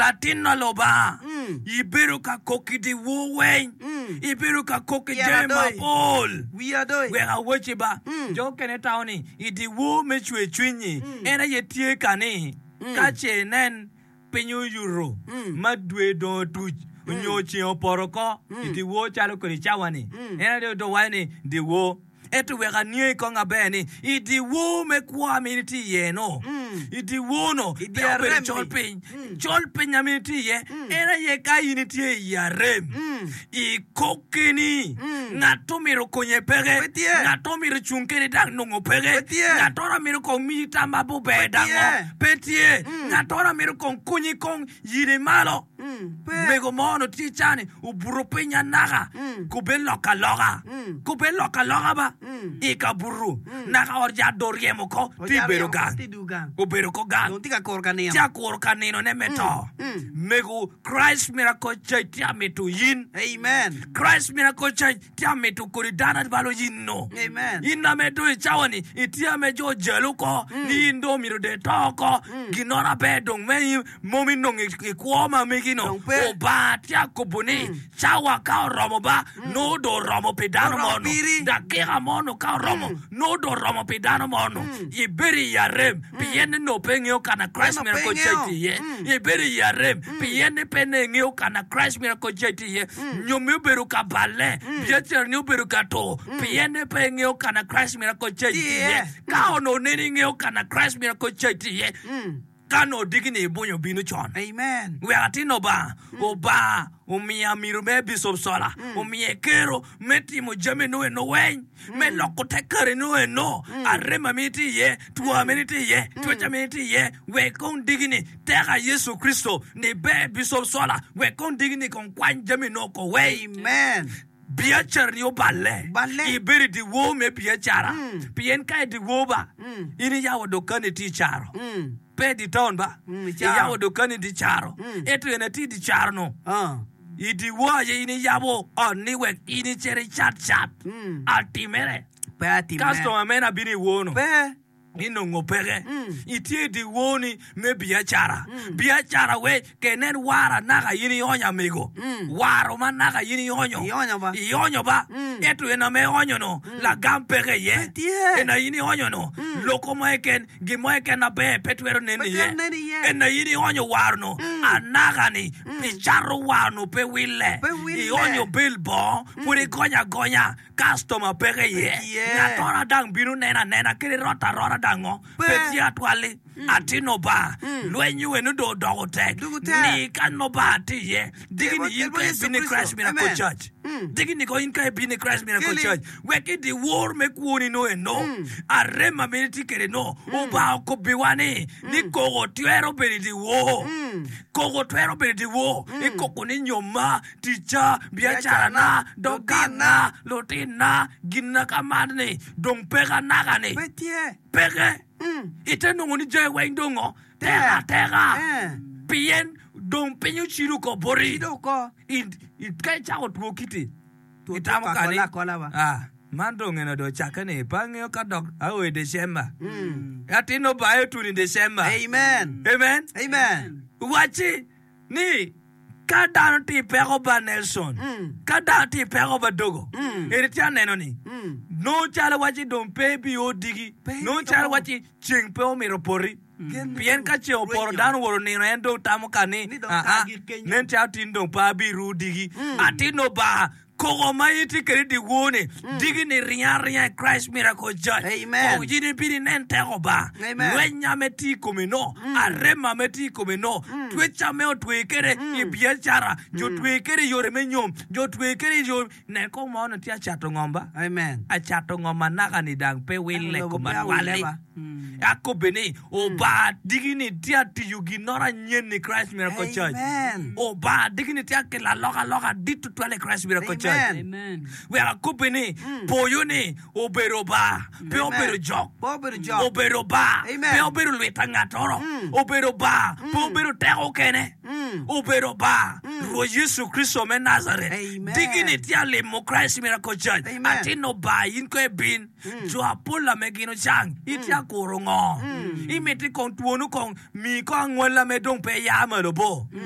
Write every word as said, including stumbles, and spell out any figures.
Latin na Lubanga, ibedo ka kok i dyewor weng, ibedo ka kok i jami mapol. Wek awacci ba, jo okene tamo ni i dyewor me cwercwiny-nyi en aye tye ka ni ka ce inen piny oyuto ma dwe dong otuc nyo ceng opoto oko i dyewor calo kodi cawa-ni, en aye dong waco ni dyewor. Ento wek aniangi kong aber ni, i dyewor me kwo ma in itye iye-nu, i dyewor-nu pe obedo col piny. Col piny ma in itye iye, en aye ka in itye i arem, ikok keni, ngat omito konye peke, ngat omito cung kedi dok nongo peke, ngat mito kong miyi tam maber dango pe tye, ngat mito kong konyi kong yini malo. Mego mo onongo tye cani obuto piny anaka kubbe lok aloka kubbe lok aloka ba i kabuto naka ot yat dong oryemo oko ti bedo gang obedo ko gang tye ka kuro ka nino tye akuro ka ninone me to mego Christ Miracle Church tye amito in amen Christ Miracle Church tye amito kodi dano balo in no Amen. in ame dong i cawa ni itye ame jo ojalo oko ni in dong omyero dong ito oko ginoro aber dong me in mom inongo i kwo ma megi no Dong pe. Obanga tye akobo ni cawa ka oromo ba nongo dong oromo pi dano Oromo mo no piri. dakika mo no ka oromo nongo dong oromo pi dano mo no ibedo i arem pien ni nongo pe ingeyo kana Christ Eno Miracle pe Church ingeyo. tye iye ibedo i arem pien ni pe ne ingeyo kana Christ Miracle Church tye iye nyomi obedo ka balle biacarani obedo ka tur pien ni pe ingeyo kana Christ Miracle Church tye iye iye. ka onongo nene ingeyo kana Christ Miracle Church tye iye ka onongo diki-ni ibunyo bino con amen wek atin Obanga Obanga omiyo amiro me Bishop Sola omiye kero me timo jami no eno weng me loko te kare no eno arem ma tye iye two ma tye iye twec ma tye iye wek kong diki-ni teka Yecu Kricito ni ber Bishop Sola wek kong diki-ni kong kwany jami no oko weng amen biacara ni oballe Balle. ibedo i dyewor me biacara pien ka i dyewor ba in iyabo dukani tye i caro pe i di town ba Mm, i caro. iyabo dukani di caro ento en atye i di caro no Ah. i dyewor aye in iyabo ot ni wek in icit icat cat atimere pe atime customer meno abino i wor no pe inongo peke itye i dyewor ni me biacara biacara we kenen wara naka in ionyo amigo waro ma naka in ionyo Ionyo ba. ionyo ba ento en ame ionyo no lagam peke iye Pe tye. en in ionyo no loko mo keken gin mo keken maber pe twero neno Pe iye twero neno iye. en in ionyo waro no anaka ni icato waro no pe wille Pe wille. ionyo bel bongo pud igonyo agonya customer peke iye tye. ngatoro dang bino neno anena kadi rot arota dango Pe. pe tye atwalli atino ba lweny weno dong odoko tek Doko tek. ni ka no ba tye iye digi ni in Kel ka bot Yecu ibino i Christ Kricito. Miracle Amen. Church digi ni ko in ka ibino i Christ Miracle Keli. Church wek i dyewor me kwoni no eno arem ma in itye kwede no Obanga okobiwa ni ni koko twero bedo i dyewor koko twero bedo i dyewor ikoko ni nyoma ticca biacarana dogana lutinna ginna ka man ni dong peke anaka ni pe tye peke ite nongo ni jami weng dongo teka ateka Eh. pien dong piny ocido ko boti Cido oko I- i- ka icako two kiti Two itamo two kani akola akola ba. ah, man dong eno dong ocakke ni pe angeyo ka dok ao i December atin obayo tun i December amen amen amen wacci ni ka dano tye i peko ba Nelson ka dano tye i peko ba Dogo eni tye aneno ni nongo calo wacci dong pe bio digi nongo calo wacci ceng pe omito poti pien ka ceng opoto dano woto nino en dong tamo ka ni Ni dong "Ah, ah, ka gik kenyo." nen calo tin dong pe abiru digi atin Obanga koko ma in itye kwede dyewor ni digi ni ringo aringa i Christ Miracle Church Amen. Kong in ibino inen teko ba Amen. lweny ame tye i kome no arem ame tye i kome no twec ame otwe kwede i biacara jo twe kwede i yore me nyom jo twe kwede i yo nen kong mo onongo tye acato ngom ba amen acato ngom anaka ni dang pe wille Lobo kom pe atwalli awille ba. akobbe ni Obanga digi ni tye atiyo ginoro anyen i Christ Miracle Church Amen. Obanga digi ni tye akelo alokaloka dit tutwal i Christ Miracle Church Amen. Amen. wek akobbe ni poyo ni obedo Obanga pe obedo jok Pe obedo jok. obedo Obanga Amen. pe obedo lwita ngatoro obedo Obanga pe obedo teko kene obedo Obanga Rwot Yecu Kricito me Nazaret Amen. digi ni tye alimo Christ Miracle Church Amen. atin Obanga in ko ibin jo apol ame gin ocang itye akuro ngo imiti kong twonu kong mi kong angwella me dong pe ya malo bo